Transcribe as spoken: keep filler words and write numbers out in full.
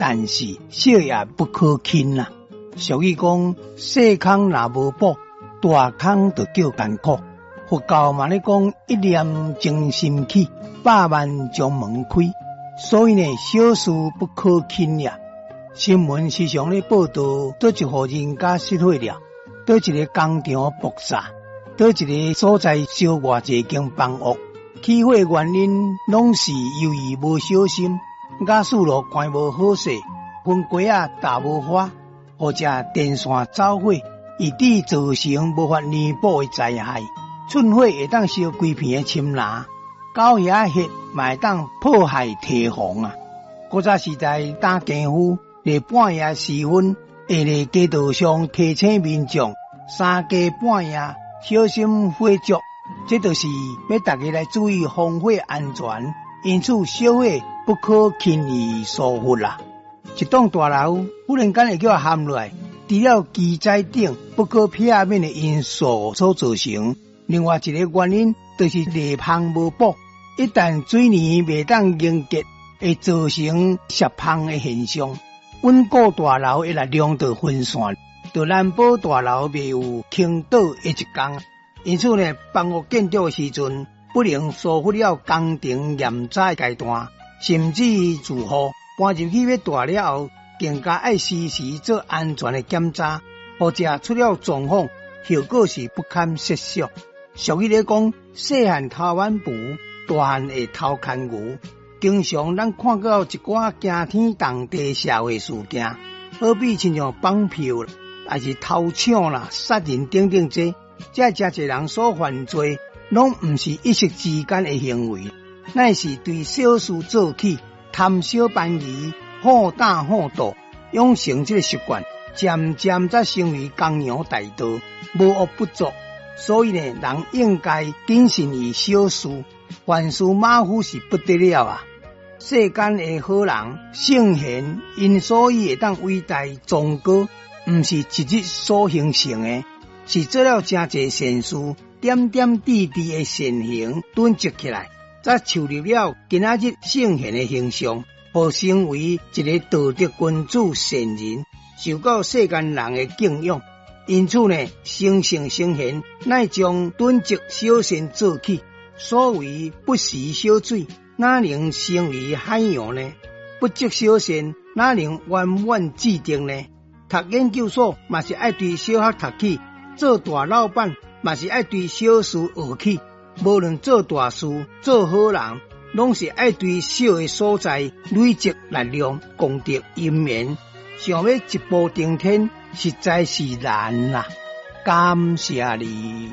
但是小也不可輕啦。俗語講，細空若無補，大空就叫艱苦。佛教嘛咧講，一念正心起，百萬障門開。所以呢，小事不可輕呀。新聞時常咧報道，佗一戶人家失火了，佗一个工廠爆炸，佗一个所在燒偌濟間房屋，起火原因攏是由於無小心，瓦斯爐關無好勢，薰鍋仔踏無花，或者電線走火，以致造成無法彌補的災害。寸火會當燒規片的深林，狗仔血嘛會當破壞堤防啊！古早時代打更夫，佇半夜時分，會佇街道上提醒民眾三更半夜小心火燭，這就是欲大家來注意防火安全。因此，小火不可輕易疏忽啦。一棟大樓忽然間會叫陷落來，除了機載等不可避免的因素所造成。另外一个原因就是裂縫無補，一旦水泥袂當凝結，會造成泄縫的現象。穩固大樓的力量就分散，就難保大樓袂有傾倒的一天。因此呢，房屋建築的時陣，不能疏忽了工程驗查階段，甚至住戶搬入去欲蹛了後，更加愛時時做安全的檢查，否則出了狀況，後果是不堪設想。俗語咧講，細漢偷挽布，大漢會偷牽牛。經常咱看到一寡驚天動地社會事件，好比親像綁票，抑是偷搶啦、殺人等等這，這誠濟人所犯罪，攏毋是一時之間的行為，乃是對小事做起，貪小便宜、好膽好鬥，養成這个習慣，漸漸才成為江洋大盜，無惡不作。所以呢，人應該謹慎於小事，凡事馬虎是不得了啊！世間的好人聖賢，𪜶所以會當偉大崇高，毋是一日所形成的，是做了誠濟善事，點點滴滴的善行囤積起來，才樹立了今仔日聖賢的形象，予成為一个道德君子善人，受到世間人的敬仰。因此呢，成聖成賢乃從囤積小善做起。所謂不食小水，哪能成為海洋呢？不積小善，哪能圓滿至定呢？讀研究所嘛是愛對小學讀起，做大老闆嘛是愛對小事學起。無論做大事、做好人，攏是愛對小的所在累積力量、功德因緣。想欲一步登天，實在是難啦！感謝你。